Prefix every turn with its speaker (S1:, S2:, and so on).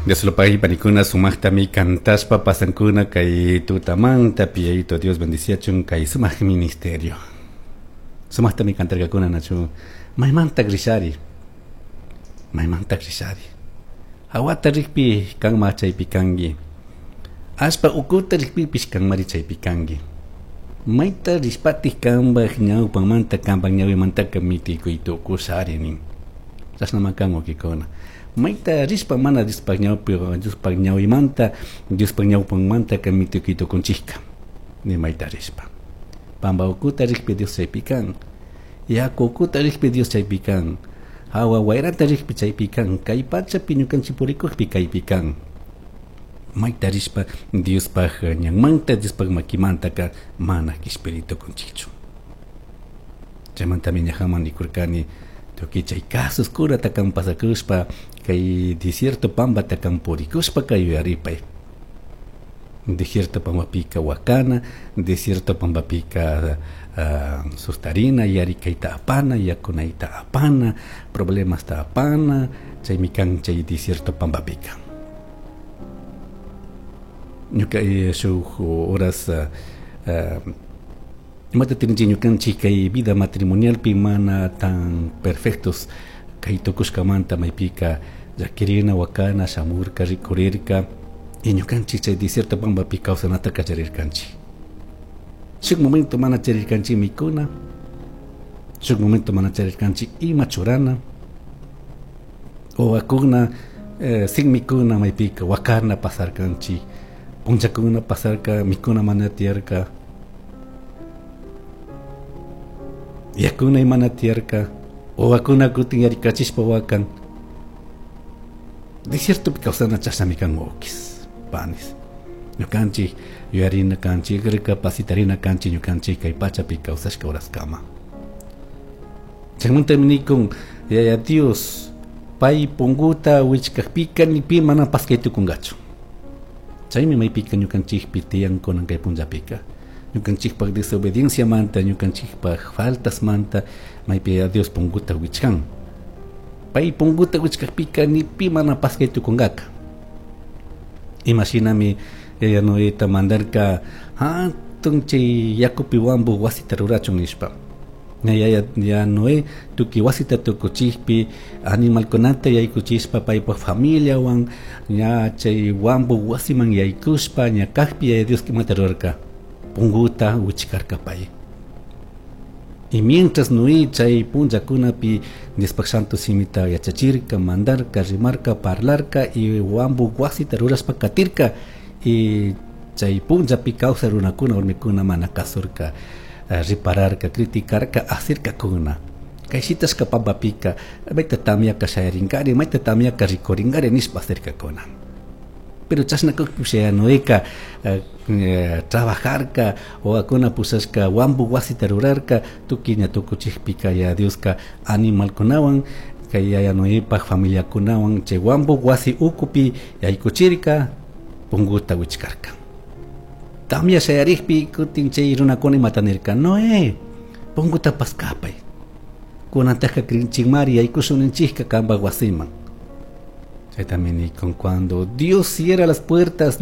S1: Dios lo pague panikuna sumaqtami kantashpa pasankuna kay tutamanta Yayito Dios bendiciachun kay sumaq ministerio. Sumaqtami kantarkakuna nachu maymanta rishari, maymanta rishari. Hawata rikpi kanma chaypi kanki, allpa ukuta rikpipish kanmari chaypi kanki. Mayta rishpatik kanpak ñawpamanta kanpak ñawimantaka mitikuy tukushari nin. Chashnama kan wawkikuna. Mayta rishpa mana Diospaj ñawpi Diospaj ñawimanta Diospaj ñawpanmantaka mitikuy tukunchikka ni mayta rishpa. Pampa ukuta rikpi Dios chaypi kan. Yaku ukuta rikpi Dios chaypi kan. Hawa wayrata rikpi chaypi kan. Kay pachapi ñukanchik purikukpi kaypi kan. Mayta rishpa Diospaj ñanmanta Diospaj makimantaka mana kishpiri tukunchikchu. Chaymantami ñajaman nikurkani tukuy chay casos-kunata kan pasakushpa kay desierto pampata kan purikushpaka yuyaripay. Desierto pampapika wakana, desierto pampapika sustarina, yarikayta apana, yakunayta apana, problemasta apana, chaymi kan chay desierto pampapika. Ñuka shuk horas imata tirinchik ñukanchik kay vida matrimonialpi mana tan perfectos kay tukushkamanta maypika llakirina wakana shamurka rikurirka y ñukanchik chay desierto pampapi kawsanata kallarirkanchik. Shuk momento mana charirkanchik mikuna, shuk momento mana charirkanchik ima churana, wawakuna sin mikuna maypika wakana pasarkanchik, punllakuna pasarka mikuna mana tiyarka, yakuna mana tiyarka, wawakuna kutin yarikachishpa wakan. Desiertopi kawsana chashnami kan wawkis, panis. Ñukanchik yuyarina kanchik, recapacitarina kanchik ñukanchik kay pachapi kawsashka horaskama. Chaymantami nikun Yaya Dios pay punguta wichkakpika ni pi mana paskay tukunkachu. Chaymi maypika ñukanchikpi tiyan kunan kay punllapika. Ñukanchikpak desobedienciamanta, ñukanchikpak faltasmanta maypi Yaya Dios punguta wichkan. Pay punguta wichkakpika ni pi mana paskay tukunkaka. Imashinami Yaya Noeta mandarka hatun chay yakupi wampu wasita rurachun nishpa. Yaya ya Noé tukuy wasita tukuchikpi animalkunata yaykuchishpa paypak familiawan ña chay wampu wasiman yaykushpa ña kakpi Yaya Dios imata rurarka punguta wichkarka pay. Y mientras Noé chay punllakunapi Diospaj Santo simita yachachirka, mandarka, rimarka, parlarka y wampu wasita rurashpa katirka y chay punllapi kawsay runakuna warmikuna mana kasurka, ripararka, criticarka, asirkakuna. Kay shitashka pampapika mayta tamyaka shayarinkari, mayta tamyaka rikurinkari nishpa asirkakuna. Pero chashna kakpipish Yaya Noeka trabajarka, wawakuna pushashka wampu wasita rurarka, tukuy ña tukuchikpika Yaya Dioska animalkunawan kay Yaya Noepak familiakunawan chay wampu wasi ukupi yaykuchirka, punguta wichkarka. Tamya shayarikpi kutin chay runakuna imata nirka, Noé, punguta paskapay. Kunantaka krinchikmari yaykushunninchikka kanpak wasiman. Chaytami nikun cuando Dios cierra las puertas, no